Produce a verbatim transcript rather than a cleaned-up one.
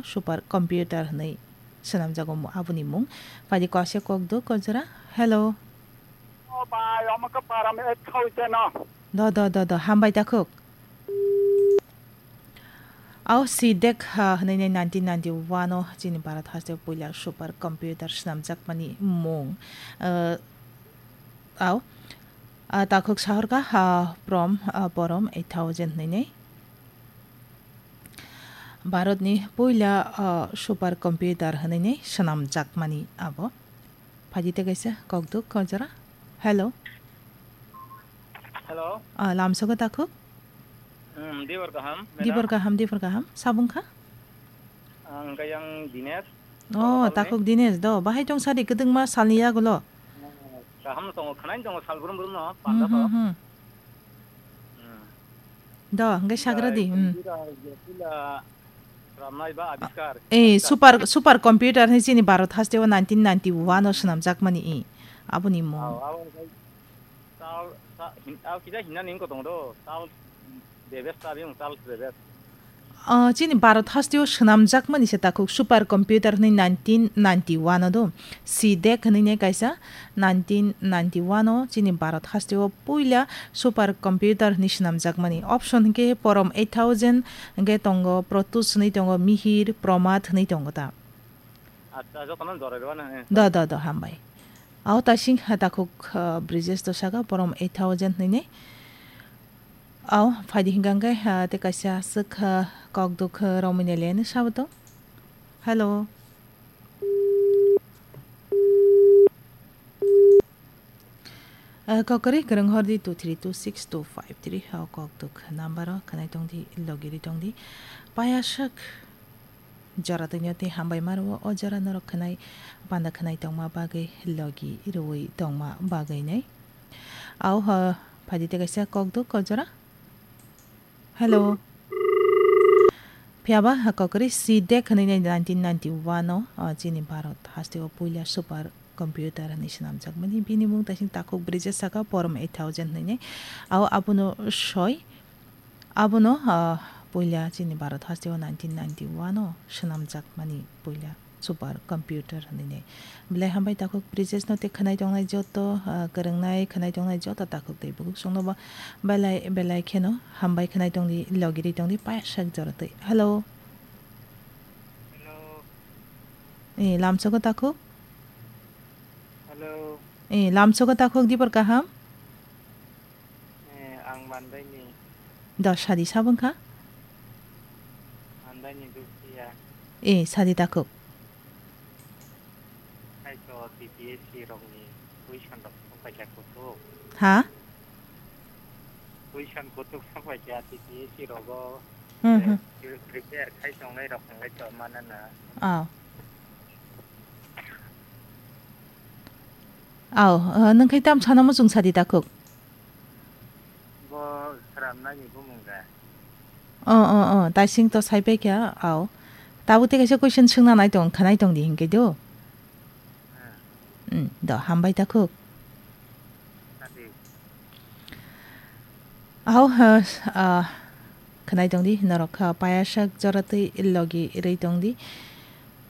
super computer hwnwi swnamjago mo-, aboni mung. Phaidi kaisa kok do, kok jora. Hello. O bai, omo khe param ek thousand no. Do, do, do, do, hambai takhuk. Au C dec, ha, hwnwi nai nineteen ninety-one o chini Bharat haste puila super computer swnamjakmani mung. Uh, au, ah, takhuk sahorka, ha, prom, ah, porom eight thousand hwnwi nai. Bharatni puila, ah, super computer hwnwi nai swnamjakmani abo. Phaidi tei kaisa kokduk kok jora. Hello. Hello. Ah, lamsogo takhuk? Hmm, dibor kaham, madam. Dibor kaham, dibor kaham. Sabung kha? Ang kayang Dinesh. Oh, Boro takhuk Dinesh do. Bahai tong sadi kwdwngma salni yagulo? Kaham tongo, khwnai tongo sal brum brum no, Hmm, panda to. hmm, hmm. Hmm. Do, hwnkhe sagra di, hmm. Computer, jepila ramnai ba abiskar. Eh, abiskar. Super, super computer ni chini Bharat haste o nineteen ninety-one o swnamjakmani i. Aboni mung. Ao, ao, Tal, ta-, hin-, ah, kisa hinna ning ko tong do, tal bebes ta biyung, tal bebes. Ah, chini Bharat hasteo swnamjakmani se takhuk super computer hwnwi nineteen ninety-one o do. C dec hwnwi ne kaisa nineteen ninety-one o chini Bharat hasteo puila super computer hwnwi swnamjakmani. Option hwnkhe porom eight thousand, hwnkhe tongo Protus hwnwi tongo, Mihir, Promat hwnwi tongo ta. Acha, jotono jorai rwna, eh. Do, do, do, hambai. Ao tasing ha takhuk, ah, Brijesh to saka, porom eight thousand hwnwi ne. Ao, phaidi hwnkha hwnkhe, ah, tei kaisa aswk, ah, kokduk, ah, romwi ne le hwnwi sabo to. Hello. Ah, kokori kwrwng hor di two three two six two five three, o kokduk number o khwnai tong di, logi ri tong di. Payaswk. Jora tongya tei hambai maro o jora norok khwnai panda khwnai tongma bagwi logi rwui tongma bagwi nai. Au ho phaidi tei kaisa kokduk kok jora. Hello. Phiya ba ha kokri C dec hwnwi nai nineteen ninety-one o, o chini Bharat haste o puila super computer hwnwi swnamjakmani. Bini mung taising takhuk Brijesh saka porom eight thousand hwnwi nai. Au abono soi. Abono, ah, puila chini Bharat hasteo nineteen ninety-one o swnamjakmani puila super computer hwnwi nai. Belai hambai takhuk Brijesh no tei khwnai tongnai joto, ah, kwrwngnai khwnai tongnai joto takhuk tei bukhuk songno bo belai belai kheno hambai khwnai tongdi, logi ri tongdi, payaswk jora twi. Hello. Hello. Eh, lamsogo takhuk? Hello. Eh, lamsogo takhuk dibor kaham? Eh, ang Mandaini. Do sadi sabung kha? Mandaini Dukhiya. Eh, sadi takhuk. Hai to T P S C rokni question rok song paikha kutuk. Ha? Question kutuk song paikha T P S C rogo. Hmm, eh, hmm. Pre-, prepare khai tongnai rok hwnlai to manana. Oh. Au, uh, nung khai tam sana muchung sadi takhuk? Bo sramnani bumung da. Oh, oh, oh, taising to sai pai kha, au. Tabuk tei kaisa question swngna nai tong, khanai tong di hinkhe do. Hmm. Hmm, do, hambai takhuk. Sadi. Au, uh, uh, khanai tong di, norok kha payaswk jora twi logi rwi tong di.